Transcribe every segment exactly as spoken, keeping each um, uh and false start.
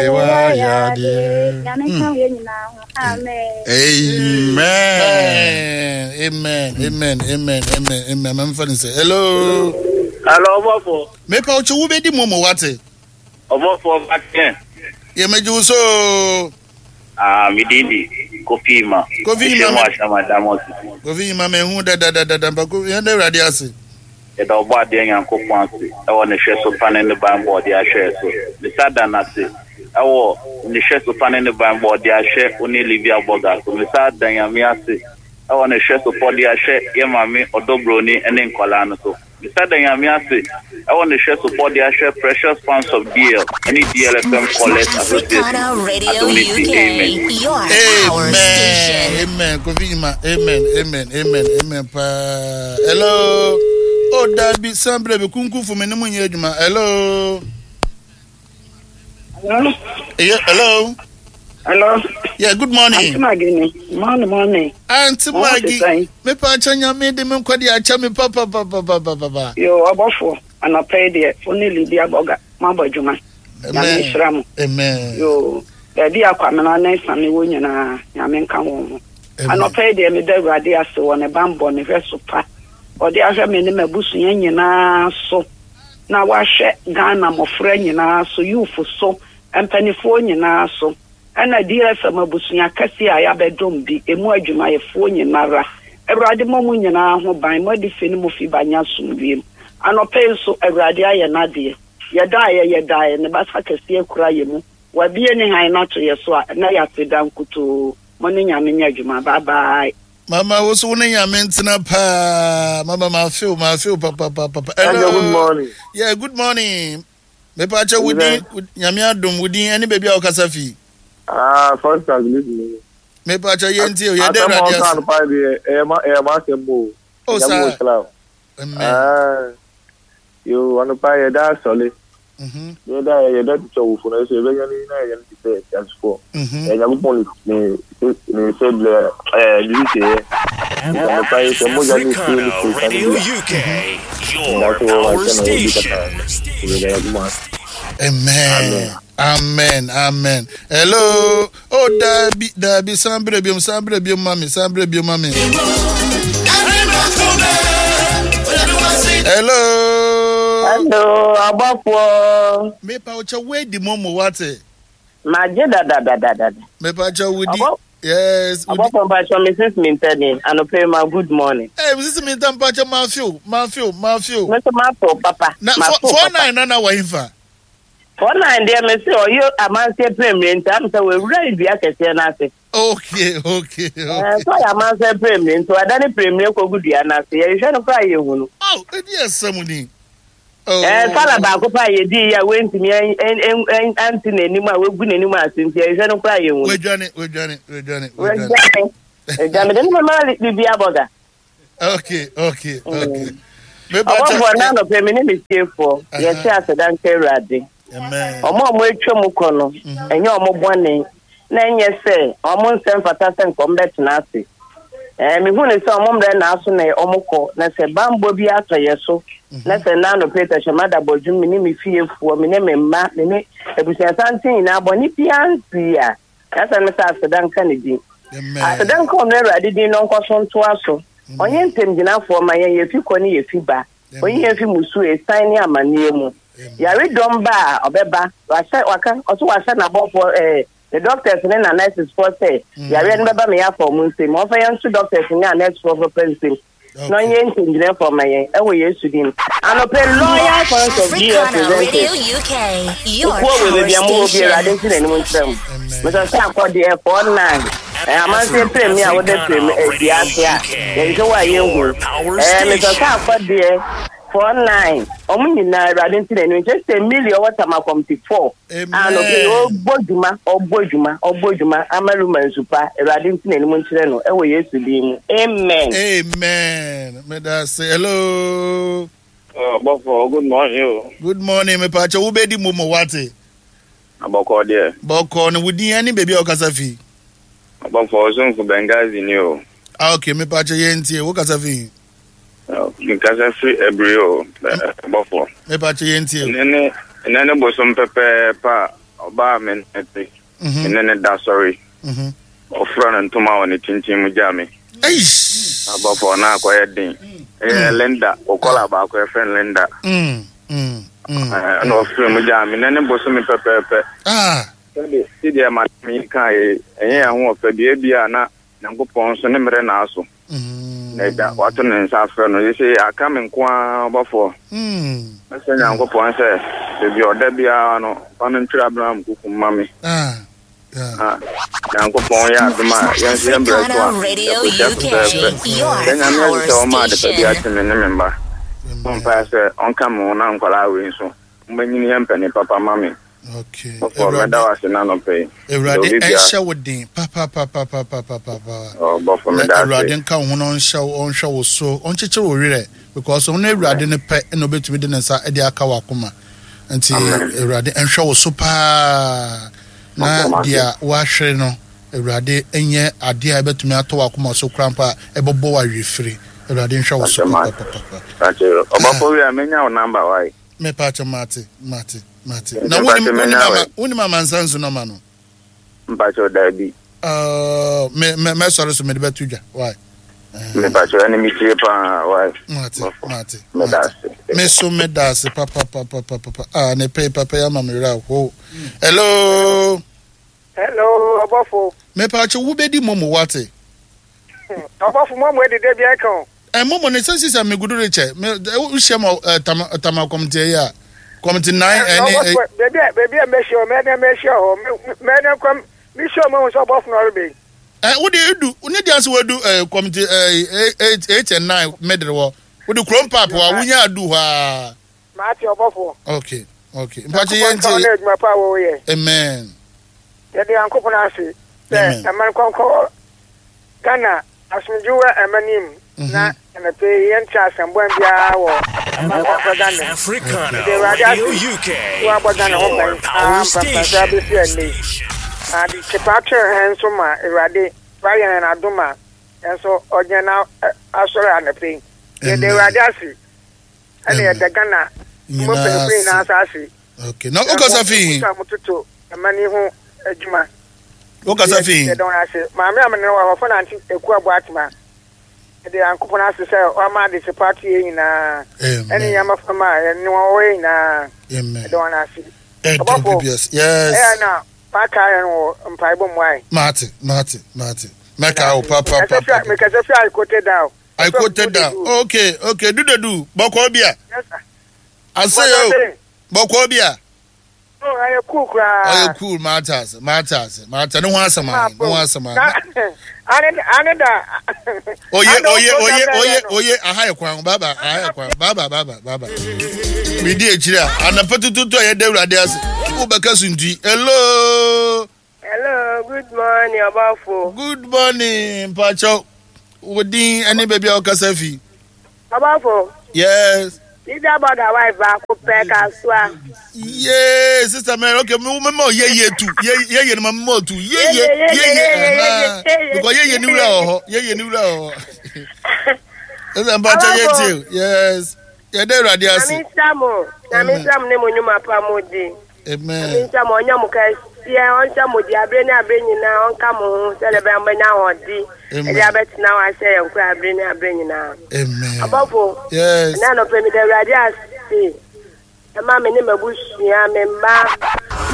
Wayɛ adeɛ. Nyame nka yɛn nyinaa ho. Amen. Amen. Amen. Amen. Amen. Amen. Amen. Mɛmfa ne sɛ hello. Hello, ɔbɔfo. Mepa wo kyɛ, wobɛdi mmom, wate? Ɔbɔfo Bakɛ. Yɛmɛgye wo so. Ah, me din di Kofi Ima. Kofi Ima. Ɛhyɛ mu ahyɛma Diamond City. Kofi Yima, mehu dadadadada mpa Kofi, yɛn da Awurade ase. Yɛda ɔbɔ adeɛ Nyankopɔn ase ɛwɔ ne hwɛ so pa ne ne ban bɔ ɔde ahwɛ so. Mesa da n'ase ɛwɔ ne hwɛ so pa ne ne ban bɔ ɔde ahwɛ wo ne Livia Burger so. Mesa da Nyame ase ɛwɔ ne hwɛ so pa ɔde ahwɛ yɛ maame ɔdɔbroni ne nkɔlaa no so. Mesa da Nyame ase ɛwɔ ne hwɛ so pa ɔde ahwɛ Precious Fans of D L ne D L F M Callers Association. Africana Radio Adom ne ti. U K, Amen. your power Amen. station. Amen. Kofi Yima. Amen. Amen. Amen. Amen. Paa. Hello. Oh, dabi sambre bi kunku fu me ne mu nyɛ adwuma. Hello. Hello? Yeah, hello. Hello? Yeah, good morning. Auntie Maggie. Morning, morning. Auntie Mo te Maggie. sɛn? Me pa kyɛ, Nyame de me nkɔde akyɛ me pa pa pa pa pa pa pa pa. Yo, ɔbɔfoɔ, anɔpa yi deɛ, wo ne Lydia Bɔga, moabɔ adwuma. Nyame nhyira mo. Amen. Yo, baabi a Kwamena ne Same wɔ nyinaa, Nyame nka wɔn ho. Amen. Anɔpa yi deɛ, meda Awurade ase wɔ ne bammɔ, ne hwɛ so pa. Ɔde ahwɛ me ne m'abusua nyinaa so. Na wahwɛ Ghana mmɔfra nyinaa so, youth so, mpanimfoɔ nyinaa so. Ɛna D F M abusua kɛseɛ a yɛabɛdom bi, emu adwumayɛfoɔ nyinara. Awurade mmɔ mo nyinaa ho ban, mo adi fi ne mo fi ba nya asomdwoe mu. Anɔpa yi nso, Awurade ayɛ n'adeɛ. Yɛdaeɛ, yɛdaeɛ, ne basa kɛseɛ kura yɛ mu. Wabie ne han no ato yɛ so a, na yɛase da nkutoo. Mo ne Nyame nyɛ adwuma. Bye bye. Mama, wo so wo ne Nyame ntena paa. Mama, ma feel, ma feel papa papa papa. Hello, good morning. Yeah, good morning. Mepa kyɛ, wo din? Nyame adom, wo din ɛne baabi a wokasa fi? Ah, first class listening. Mepa kyɛ, yɛntie o, yɛda Asɛm a Awurade ɔka ase. no paa deɛ, ɛyɛ ma ɛyɛ ma asɛm o. Oh, Nyame saa. wɔ hyira o. Amen. Ah, yo, anɔpa yɛda asɔle. Mhm. Yɛda yɛda tutu awofo no so yɛbɛnya ne na yɛnya no te sɛ asefoɔ. Mhm. Ɛyɛ Nyankopɔn ne ne ne sɛ blɛ ɛɛ ne sɛ yɛ. Anɔpa yi sɛ mogya ne nsuo ne Africana kuro sane Radio bi a. U K, your Nda so wɔ power ansa na wɔdi station. kata. Yɛda Nyankopɔn ase. Amen. Amen. Amen. Hello. Oh, dabi, dabi, sambre biom, sambre biom, mami, sambre biom, mami. Hello. Hello, abɔfoɔ. Mepa wo kyɛ, wedi momo, wate? Magye dadadadada. Mepa kyɛ, wudi. Ɔbɔ- Yes. Wudi. Abɔfoɔ, mpakyɛ, Missus Mintani, anɔpa yi ma good morning. Hey, Missus Minta, mpakyɛ, ma feel, ma feel, ma feel. Me nso mato papa. Na Mato four, four papa. nine na na wɔ Four nine deɛ, me se ɔyɛ amanseɛ pɛrɛmire nti am sɛ wɔawura dua kɛseɛ no ase. Okay, okay, Ɛɛ okay. sɛ ɔyɛ amanseɛ pɛrɛmire nti wada ne pɛrɛmire kɔgu dua no ase. Yɛhwehwɛ no koraa, yɛhu no. Oh, edi asɛm ni. Oh. Ɛɛ sala baako pa a yɛdii yi a wɔntumi ɛn- ɛn- ɛn- ante n'anim a wɔagu n'anim ase nti yɛhwehwɛ no koraa, yɛhu no. Wedwane, wedwane, wedwane, wedwane. Wɔadwane. Ɛdwane de ne mama biribi abɔga. Okay, okay, okay. Ɔbɔfoɔ, na anɔpɛ me ne me fiefoɔ yɛte aseda nka Awurade. Amen. Ɔmo a ɔmo atwa mu kɔ no, ɛnyɛ ɔmo bɔne na ɛnyɛ sɛ ɔmo nsɛm fata sɛ nka ɔmo bɛtena ase. Ɛɛ mehu ne sɛ ɔmo mmerɛ naaso na ɔmo kɔ na sɛ bambɔ bi atɔ yɛ so na sɛ na anɔpɛ tɛhyɛma da bɔdwom, me ne me fiefoɔ, me ne me mma, me ne abusuasanten nyinaa, bɔne biara nsii a yɛsɛ no sɛ aseda nka ne din. Amen. Aseda nka ɔno Awurade din no nkɔ so ntoa so. Ɔnyɛ ntɛmgyinafoɔ ma yɛn, yɛfi kɔ ne yɛfi ba. Ɔnyi yɛn fi musuo, esan ne amanneɛ mu. Yare dɔm ba a ɔbɛba, wahyɛ waka ɔso wahyɛ n'abɔfoɔ, ɛɛ ne doctors ne na nurses foɔ sɛ yareɛ no bɛba me yɛafa ɔmo nsam. Ɔmfa yɛn nso doctors ne a nurse foɔ papa nsam na ɔnyɛ ntɛmgyinafoɔ ma yɛn ɛwɔ Yesu din. Anɔpɛ, Loyal Fans of D F Africana Radio presenters U K, your okuo wɔ power baabi a mowɔ bi, Awurade station. nti n'anim nkyerɛ mu. Mesɛ sɛ akɔdeɛ four nine ɛɛ amanseɛ pere a wode pere dua ase a yɛhwehwɛ wɔ a yɛnhu. ɛɛ mesɛ sɛ akɔdeɛ four nine, ɔmo nyinaa, Awurade nti n'anim nkyerɛ sɛ million wɔ Tama committee four a nɔpɛ ɔbɔ dwuma, ɔbɔ dwuma, ɔbɔ dwuma ama Luma nsupa. Awurade nti n'anim nkyerɛ no ɛwɔ Yesu din mu, amen. Amen. Meda ase. Hello. Ɔbɔfo, good morning o. Good morning. Mepa kyɛ, wobɛdi mu mo, wate? Abɔkɔ deɛ. Bɔkɔ no, wo din ne baabi a wokasa fi? Ɔbɔfo, ɔsomfo Benghazi ni o. Ah, okay, mepa kyɛ, yɛntie. Wokasa fi? Nkasa firi Abiri o, ɔbɔfo. Mepa kyɛ, yɛntie. Ɛnɛ ne ɛnɛ ne bosom pɛpɛɛpɛ a Ɔbaa me nete. Me ne ne da sɔre. Ɔfura ne ntoma wɔ ne kyinkyin mu gya me. Abɔfo na akɔyɛ den. Ɛyɛ Linda, ɔkɔla baako yɛfrɛ no Linda. Ɛna ɔfura mu gya me ne ne bosome pɛpɛɛpɛ. Sɛde sɛdeɛ madam yi kaa yɛ ɛnyɛ yɛn ho ɔfɛ deɛ bi a na Nyankopɔn nso ne mmerɛ na aso. Na agya wato ne nsa afrɛ no yɛsɛ aka me nko ara ɔbɔfoɔ. Mɛsɛ Nyankopɔn sɛ baabi a ɔda biara no fa no ntwerɛ Abraham kuku mma me. Na Nyankopɔn yɛ adom a yɛn nso yɛn berɛ so a yɛkɔhyia fɛfɛɛfɛ. Sɛ Nyame ase sɛ ɔma adepa bi akye me ne me mma. Bɔ mpaeɛ sɛ ɔnka me ho na nkwadaa wei nso wɔbɛnyini yɛ mpanin papa ma me. Okay. Ɔfɔ mɛda wo ase n'anɔpɛ yi. Awurade ɛnhyɛ wo den papapapapapapa. Ɔbɔfo meda ase. Awurade nka wo ho na ɔnhyɛ wo ɔnhwɛ wo so ɔnkyekyere wo werɛ because ɔno Awurade no pɛ na obetumi de ne nsa de aka w'akoma. Nti Awurade nhwɛ wo so paa na deɛ wahwere no Awurade nyɛ adeɛ a ɛbɛtumi atɔ w'akoma so koraa mpo a ɛbɛbɔ wo awerɛfiri. Awurade nhwɛ wo so papapapa. Ɔbɔfo wi a menya wo number wae. Mepa kyɛ mate mate mate. Na wonim wonim ama wonim amansa nso nɔma no. Mpakyɛ daabi. Uh, me me mɛsɔre so mede bɛto dwa why. Mepakyɛ ɛne metie paa why. Mate mate mate. Me so meda ase papa papa papa. Ah ne pay papa ya ma me werɛ ho. Hello. Hello ɔbɔfo. Mepakyɛ wobɛdi momo wate. Ɔbɔfo momo edede bi ɛka o. Eh, momo ne sɛ sisa megudu rekyɛ me wohyia ma tama tama kɔmte yi a kɔmte nine ɛne. Beebi a beebi a mɛhyia o mɛdɛ mɛhyia hɔ mɛdɛ kɔm mehyia o mahu sɛ ɔbɔfo na ɔreba yi. Eh, wode edu ne deɛ sɛ wadu eh, kɔmte eh, eight eight and nine middle hɔ wode kurom paap hɔ a wonya adu hɔ a. Maate ɔbɔfo. Okay okay mpakyɛ yɛn ti. Nyankopɔn adwuma pa a wɔyɛ. Amen. Yɛde Nyankopɔn ase sɛ ɛman kɔnkɔ Ghana asomdwe wɔ ɛman yi mu na ɛnɛpɛ yi yɛnte asɛmbɔn biara wɔ ɛman kɔnkɔ Ghana mu. Yɛde Awurade ase sɛ wabɔ Ghana ho ban aa mpɛmpɛnso abɛsi ɛnnɛ yi. Na ade kyepa kyerɛ hɛn nso ma Awurade wayɛ hɛn adom a yɛn nso ɔgyina na asɔre anɔpɛ yi. Yɛde Awurade ase ɛna yɛda Ghana mu mpanyinfo nyinaa nso ase. Okay. Na wokasa fi he? Mototo ɛma ni ho adwuma. Wokasa fi he? Yɛda wɔn ase. Maame a mene wɔ hɔ fo nante eku abo atema. Yɛde Nyankopɔn ase sɛ wama ade kyepa ato yɛn nyinaa. Ɛne yɛn mmɔframma a yɛne wɔn wɔ yɛn nyinaa. Yɛda wɔn ase. Ɔbɔfo, yes. Ɛyɛ na maka yɛn wɔ mpaebɔ mu ae. Mate, mate, mate. Mɛka wo pa pa pa pa. Mekasa fi I quoted down. I quoted down. Okay, okay. Dudedu, bɔkɔ bi a. Yes sir. Ase yo. Bɔkɔ bi a. No, ɛyɛ cool koraa. Ɔyɛ cool, mate ase, mate ase, mate ne ho asɛm ayi, ne ho asɛm ayi. Ane ane da. Oye oye oye oye oye aha yɛ kwan baba aha yɛ kwan baba baba baba. Midi akyiri a anapa tututu a yɛda Awurade ase. Wobɛka suntui. Hello. Hello, good morning, Ɔbɔfo. Good morning, Mpakyɛw. Wo din ɛne baabi a wokasa fi. Ɔbɔfo. Yes. Leader Burger wife baako pɛ kasoa. Yee, Sister Mary, okay, me me ma ye ye tu. Ye ye ye no ma me tu. Ye ye ye ye. Because ye ye ni wura wɔ hɔ. Ye ye ni wura wɔ hɔ. Ɛsɛ Mpakyɛw ye tie. Yes. Yɛda Awurade ase. Nyame nhyira mo. Nyame nhyira mo ne mo nnwuma pa mo di. Amen. Nyame nhyira mo ɔnyɛ mo kɛseɛ ɔnhyɛ mo di abere ne abere nyinaa ɔnka mo ho sɛdeɛ ɛbɛyɛ mobɛnya ahoɔden ɛde abɛtena hɔ ahyɛ yɛn kora abere ne abere nyinaa. Amen. Abɔfo. Yes. Ɛnɛ anɔpɛ meda Awurade ase ɛma me ne m'abusua me mma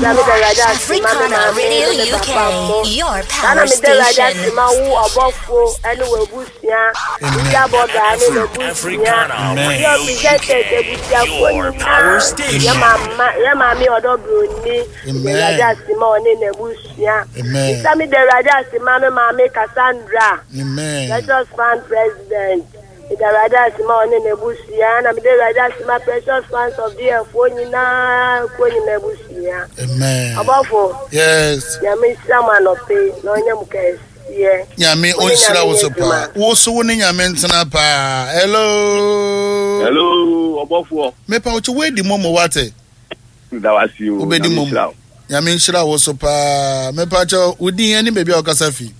da meda Awurade ase ma me maame ne me papa mo saa na meda Awurade ase ma wo ɔbɔfo ɛne w'abusua Media Bɔga ne n'abusua yɛ presenters abusuafoɔ nyinaa yɛ mama yɛ maame ɔdɔ broni meda Awurade ase ma ɔne n'abusua bisa meda Awurade ase ma me maame Cassandra Precious Fund President meda Awurade ase ma ɔne n'abusua na meda Awurade ase ma Precious Fans of the Foɔ nyinaa kuo nyinaa abusua ɔbɔfo yes Nyame nhyira mo anɔpe na ɔnyɛ mo kɛse. Nyame ɔnhyira wo so paa. Wo so wo ne Nyame ntena paa. Hello. Hello, ɔbɔfoɔ. Mepa wo kyɛ woadi momo wate. Da wase o. Wobɛdi momo. Nyame nhyira wo so paa. Mepa kyɛ wo din ne baabi a wokasa fi.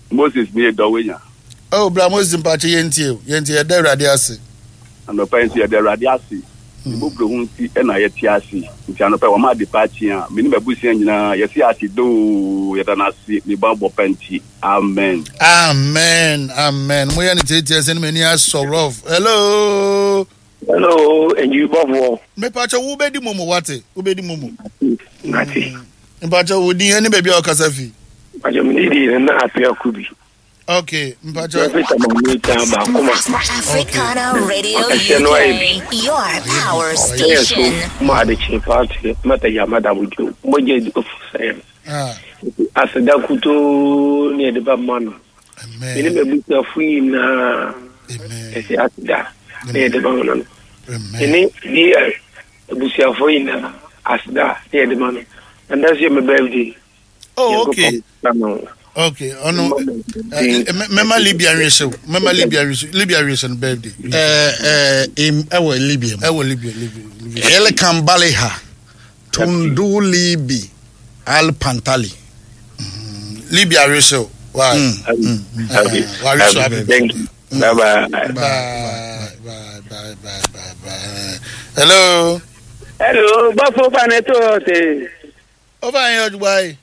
Moses ne Dɔwenya. Oh, bra Moses mpa kyɛ yɛntie o. Yɛntie yɛda Awurade ase. Anɔpa yi nso yɛda Awurade ase. Ne mmɔborɔhunu nti na yɛte ase. Nti anɔpa yi wama ade pa akye a, me ne m'abusua nyinaa yɛse ase doo, yɛda no ase ne bammɔ pa nti. Amen. Amen, amen. Mo yɛ ne tietie sɛ ne m'ani asɔ rough. Hello. Hello, enyi bɔfoɔ. Mepakyɛ wo bɛdi momo wate, wo bɛdi momo. Nate. Mepakyɛ wo din ɛne baabi a ɔkasa fi. Mepakyɛ me ne di na apia kubi. Okay, mpacho. Africana Radio U K, your power station. Ma adekye paati mata ya mada wujo mogye di ofu sɛ aseda kutoo ne yɛde ba ma no mene m'abusuafo nyinaa ɛsɛ aseda ne yɛde ba ma no mene D L abusuafo nyinaa aseda ne yɛde ma no. And that's your my birthday. Oh, okay. Okay, ɔno mɛma Libya nwehyew, mɛma Libya nwehyew, Libya nwehyew no birthday. Ɛɛ ɛɛ ɛwɔ Libya mu. Ɛwɔ Libya, Libya, Libya. Elkan Baliha Tundulibi Al Pantali. Libya nwehyew. Why? Mm. Wahwehyew happy. Thank you. Bye bye. Bye bye bye bye bye bye. Hello. Hello, bɔfo fa ne to te. Ɔba yɛn ɔdugba yi.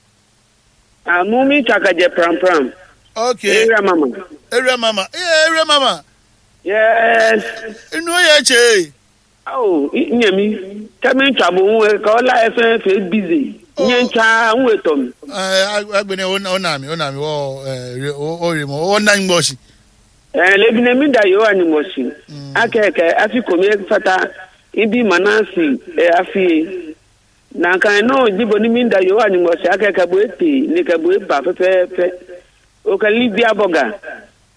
Amumi chakaje pram pram. Okay. Area mama. Area mama. Yeah, area mama. Yes. Inu yɛ kye. Oh, nyemi. Kemi ntwa bo hu ka ola efe fe busy. Nye ntwa hu etom. Eh, agbene o na mi, o na mi wo eh o ri mo o na ngbosi. Eh, lebi ne mi da yo ani mosi. Akeke afi komi fata ibi manasi e afi. Na kan no jibo ni mi da yo ani mosi akeke bo ete ni ke bo ba fefe. O ka Libya boga.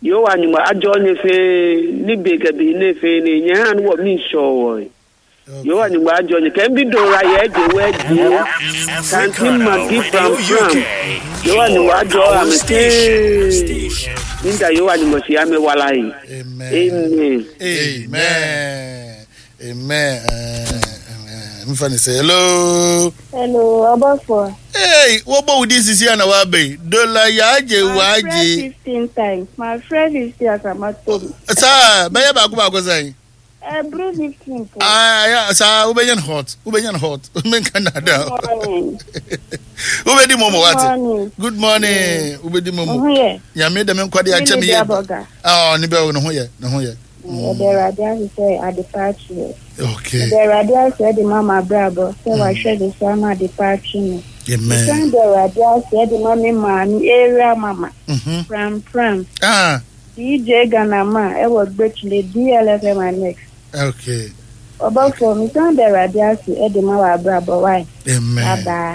Yo ani mo ajo ni fe ni be ke bi ni fe ni nya han wo mi so wo. Yo ani mo ajo ni ke bi do ra ye je we je. Kanti magi pram pram. Yo ani mo ajo am te. Ninda yo ani mo si ame wala yi. Amen. Amen. Amen. Amen. Mfa ne sɛ hello. Hello, Ọbọfọ. Hey, wọ́n wo di sisi ana wa bẹ̀ dola yaagye waagye. My friend fifteen times. My friend fifteen asamato mi. Saa bɛyɛ baako baako sɛn. Every fifteen po. Ah, ya saa wobɛnya no hot, wobɛnya no hot. Menka nada. Wobɛdi momo wate. Good morning. Wobɛdi momo. Nyame dɛm nkɔde akyɛ me yɛ. Ah, ne bɛ ne ho yɛ, ne ho yɛ. Yɛde Awurade ase sɛ ade pa akyi. Okay. Yɛde Awurade ase de ma ma abrabɔ sɛ wahwɛ de so ama ade pa akyi no. Amen. Yɛsan de Awurade ase de ma me maame area mama. Pram pram. Ah. D J Ghana ma ɛwɔ Gbetule D L F M Annex. Okay. Ɔbɔfo, mesan de Awurade ase de ma wɔ abrabɔ wae. Amen. Bye bye.